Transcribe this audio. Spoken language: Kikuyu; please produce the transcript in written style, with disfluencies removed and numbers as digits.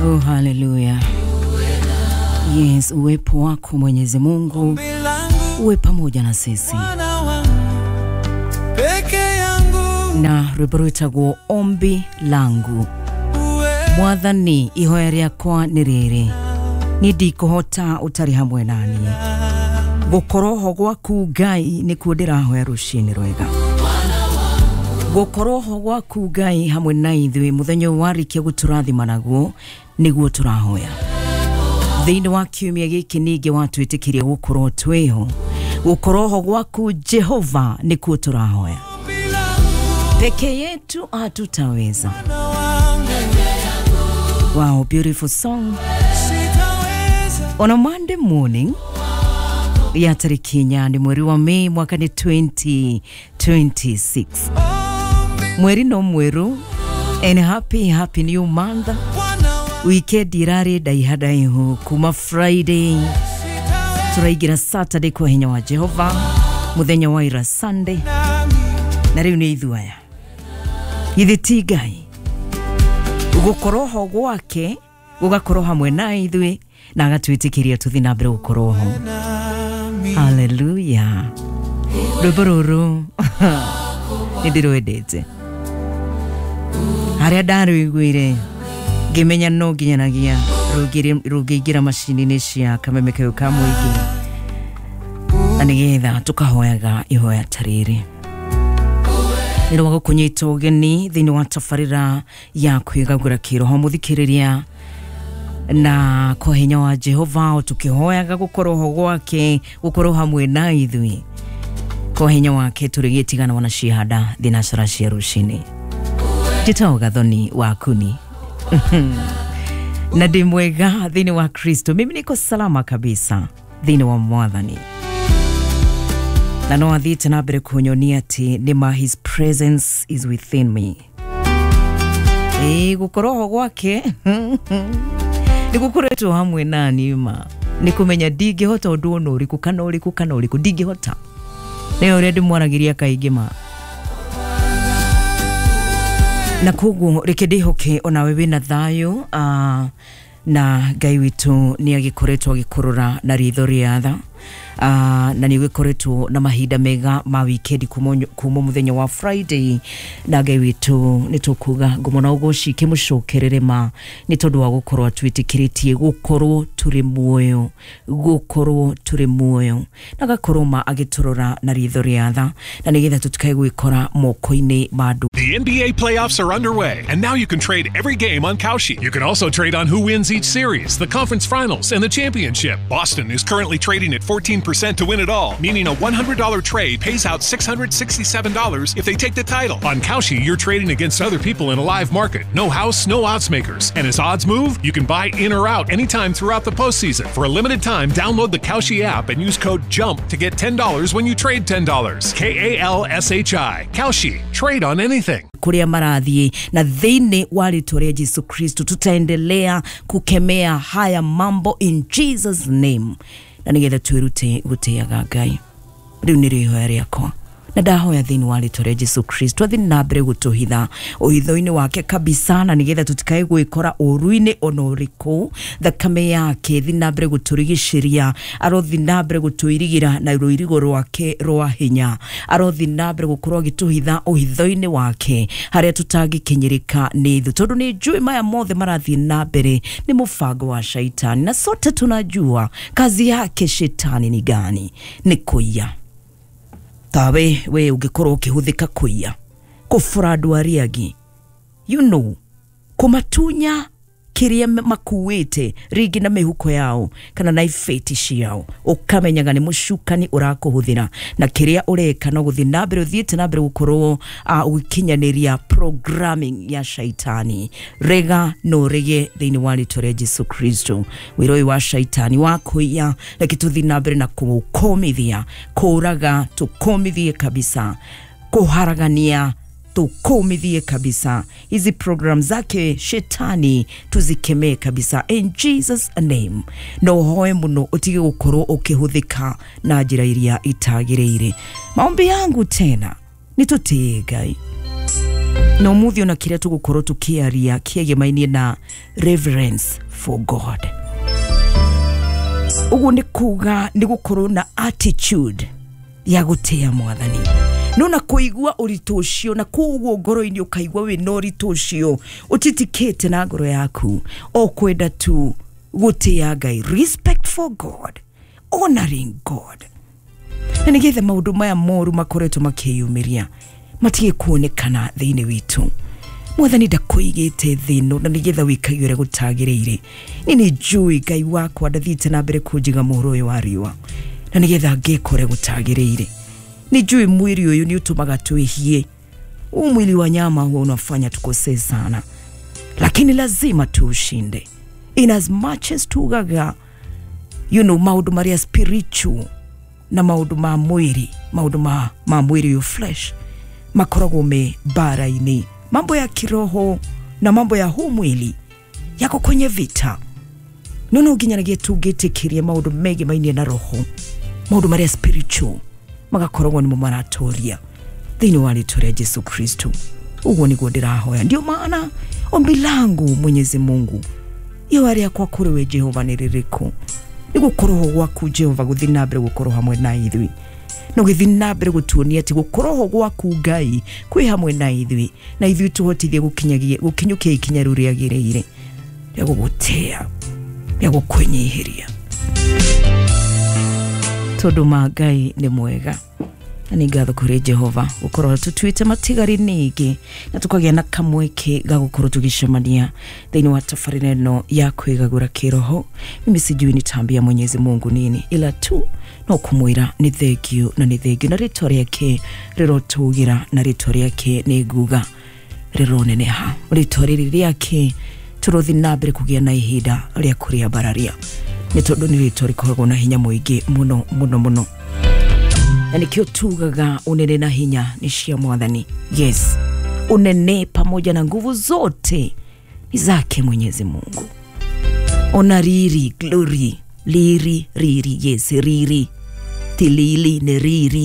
Oh, haleluya. Yes, uwepo wako Mwenyezi Mungu uwe pamoja na sisi. Na rwimbo rwitagwo Ombi Langu. Mwathani, ihoya rĩakwa nĩ rĩrĩ, niĩ ndikũhota ũtarĩ hamwe naniĩ. Gũkorwo ho gwaku Ngai nĩkuo ndĩrahoya rũcinĩ rwega. Gũkorwo ho gwaku Ngai hamwe na ithuĩ mũthenya ũyũ warĩkia gũtũrathima naguo nĩguo tũrahoya. Thĩinĩ wa kiumia gĩkĩ ningĩ watwĩtĩkĩria gũkorwo twĩho. Gũkorwo ho gwaku Jehova nĩkuo tũrahoya. Peke yetu hatutaweza. Wow, beautiful song. On a Monday morning ya tariki 8 mweri wa Mei mwaka ni 2026. Mweri no mweru, and happy happy new month. Weekend irari ndaiha ndaihu kuma Friday turaingira Saturday kwa hinya wa Jehova, muthenya wa ira Sunday, na riu ni ithuaya githĩ ti Ngai gukorwo ho gwake gugakorwo hamwe na ithuĩ na agatwĩtĩkĩria tũthiĩ na mbere gũkorwo ho. Haleluya. Rwĩmbo rũrũ nĩ ndĩrwendete, harĩa ndarũiguire ngĩmenya no nginyanagia rũngĩingĩra macini-inĩ cia kameme kau ka mũingĩ, na nĩgetha tũkahoyaga ihoya ta rĩrĩ. Nĩ rwa gũkũnyita ũgeni thĩinĩ wa tabarĩra ya kwĩgagũra kĩroho mũthikĩrĩria, na kwa hinya wa Jehova tũkĩhoyaga gũkorwo ho gwake, gũkorwo hamwe na ithuĩ kwa hinya wake tũrĩgĩtigana wana cihanda thinacara cia rũcinĩ. Njĩtagwo Gathoni wa Kuni na ndĩ mwega thĩinĩ wa Kristo. Mimi niko salama kabisa thĩinĩ wa Mwathani, na no athiĩte na mbere kũnyonia atĩ nĩma his presence is within me. Ĩĩ, gũkorwo ho gwake nĩ gũkoretwo hamwe nani ma nĩ kũmenya ndingĩhota ũndũ ona ũrĩkũ kana ũrĩkũ kana ũrĩkũ, ndingĩhota. Nĩ ũrĩa ndĩmwaragĩria kaingĩ ma, na koguo reke ndĩhoke onawe wĩna thayũ, na Ngai witũ nĩ agĩkoretwo agĩkũrora na ritho rĩa tha, na nĩ gũkoretwo na mahinda mega ma wikendi kuma mũthenya wa Friday, na Ngai witũ nĩ tũkuga ngumo na ũgoci kĩmũcokerere ma nĩ tondũ wa gũkorwo atwĩtĩkĩrĩtie gũkorwo tũrĩ muoyo, gũkorwo tũrĩ muoyo, na agakorwo ma agĩtũrora na ritho rĩa tha, na nĩgetha tũtikae gwĩkora moko-inĩ ma andũ. The NBA playoffs are underway, and now you can trade every game on Kalshi. You can also trade on who wins each series, the conference finals, and the championship. Boston is currently trading at 14% to win it all, meaning a $100 trade pays out $667 if they take the title. On Kalshi, you're trading against other people in a live market. No house, no odds makers. And as odds move, you can buy in or out anytime throughout the postseason. For a limited time, download the Kalshi app and use code JUMP to get $10 when you trade $10. Kalshi. Kalshi. Trade on anything. Kuria marathiĩ na thĩinĩ wa rĩtwa rĩa Jesu Kristo tutaendelea kukemea haya mambo in Jesus name, na nĩgetha twĩrute gũtĩaga Ngai. Rĩu nĩ rĩhoya rĩakwa, na ndahoya thĩinĩ wa rĩtwa rĩa Jesu Kristo athiĩ na mbere gũtũhitha ũhitho-inĩ wake kabisa, na nĩgetha tũtikae gwĩkora ũru-inĩ ona ũrĩkũ. Thakame yake thiĩ na mbere gũtũrigicĩria, arothi na mbere gũtũirigĩra na rũirigo rwake rwa hinya, arothi na mbere gũkorwo agĩtũhitha ũhitho-inĩ wake harĩa tũtangĩkinyĩrĩka nĩ thũ, tondũ nĩ njũĩ maya mothe marathiĩ na mbere nĩ mũbango wa shaitani, na sote tunajua kazi yake shetani ni gani, nĩ kũiya. Tawe we ũngĩkorwo ũkĩhũthĩka kũiya, kũbũra andũ arĩa angĩ, you know, kũmatunya kĩrĩa makuĩte rĩngĩ na mĩhuko yao kana na ibeti ciao, ũkamenyaga nĩ mũcukani ũrakũhũthĩra, na kĩrĩa ũreka no gũthiĩ na mbere ũthiĩte na mbere gũkorwo ũgĩkinyanĩria programming ya shaitani. Rega no rege thĩinĩ wa rĩtwa rĩa Jesu Kristo wĩra ũyũ wa shaitani wa kũiya, reke tũthiĩ na mbere na kũũkũmithia, kũũraga tũkũmithie kabisa, kũharagania tukomithie kabisa. Hizi program zake shetani tuzikemee kabisa in Jesus name. No hoe muno utige gukorwo ukihuthika na njira iria itagiriire. Maombi yangu tena nitutie Ngai. Na umuthi ona kiria tugukorwo tukiaria kiegemainie na reverence for God. Uguo ni kuga ni gukorwo na attitude ya gutia mwathani. No na kuigua ũritũ ũcio na koguo ngoro-inĩ ũkaigua wĩna ũritũ ũcio ũtitikĩte na ngoro yaku o kwenda tu gũtĩa Ngai, respect for God, honoring God, na nĩgetha maũndũ maya moru makoretwo makĩyumĩria matige kuonekana thĩinĩ witũ. Mwathani ndakũigĩte thĩ ĩno na nĩgetha wĩkage ũrĩa gũtagĩrĩire. Niĩ nĩ njũĩ Ngai wakwa ndathiĩte na mbere kũnjiga mũhuro ũyũ wa riũa na nĩgetha ngeka ũrĩa gũtagĩrĩire. Nĩ njũĩ mwĩrĩ ũyũ nĩ ũtũmaga twĩhie. Huu mwili wa nyama huwa unafanya tukosee sana, lakini lazima tuushinde. In as much as tugaga maũndũ marĩa spiritual na maũndũ ma mwĩrĩ, maũndũ ma mwĩrĩ yo flesh makoragwo me bara-inĩ. Mambo ya kiroho na mambo ya huu mwili yako kwenye vita. No no nginyanagia tũngĩtĩkĩria maũndũ megemainie na roho, maũndũ marĩa spiritual magakoragwo nĩmo maratoria thĩinĩ wa rĩtwa rĩa Jesu Kristo. Ũguo nĩguo ndĩrahoya. Ndio maana ombi langu Mwenyezi Mungu ihoya rĩakwa kũrĩ we Jehova nĩ rĩrĩkũ? Nĩ gũkorwo gwaku Jehova gũthiĩ na mbere gũkorwo hamwe na ithuĩ, na ũgĩthiĩ na mbere gũtuonia atĩ gũkorwo gwaku Ngai kwĩ hamwe na ithuĩ, na ithuĩ tũhotithie gũkinyũkia ikinya rĩu rĩagĩrĩire rĩa gũgũtĩa, rĩa gũkwĩnyihĩria, tondũ ma Ngai nĩ mwega. Na nĩ ngatho kũrĩ Jehova gũkorwo tũtuĩte matigari ningĩ na tũkagĩa na kamweke ga gũkorwo tũgĩcemania thĩinĩ wa tabarĩra ĩno ya kwĩgagũra kĩroho. Mimi sijui nitaambia Mwenyezi Mungu nini, ila tu no kũmwĩra nĩ thengio na nĩ thengio, na rĩtwa rĩake rĩrotũgĩra, na rĩtwa rĩake nĩ nguga rĩroneneha. Rĩtwa rĩrĩ rĩake tũrothiĩ na mbere kũgĩa na ihinda rĩa kũrĩambararia, nĩ tondũ nĩ rĩtwa rĩkoragwo na hinya mũingĩ mũno mũno mũno. Na nĩkĩo tugaga unene na hinya ni cia mwathani. Yes, unene pamoja na nguvu zote ni zake Mwenyezi Mungu. Ona riri, glory, liri, riri, yes, riri, tilili ni riri.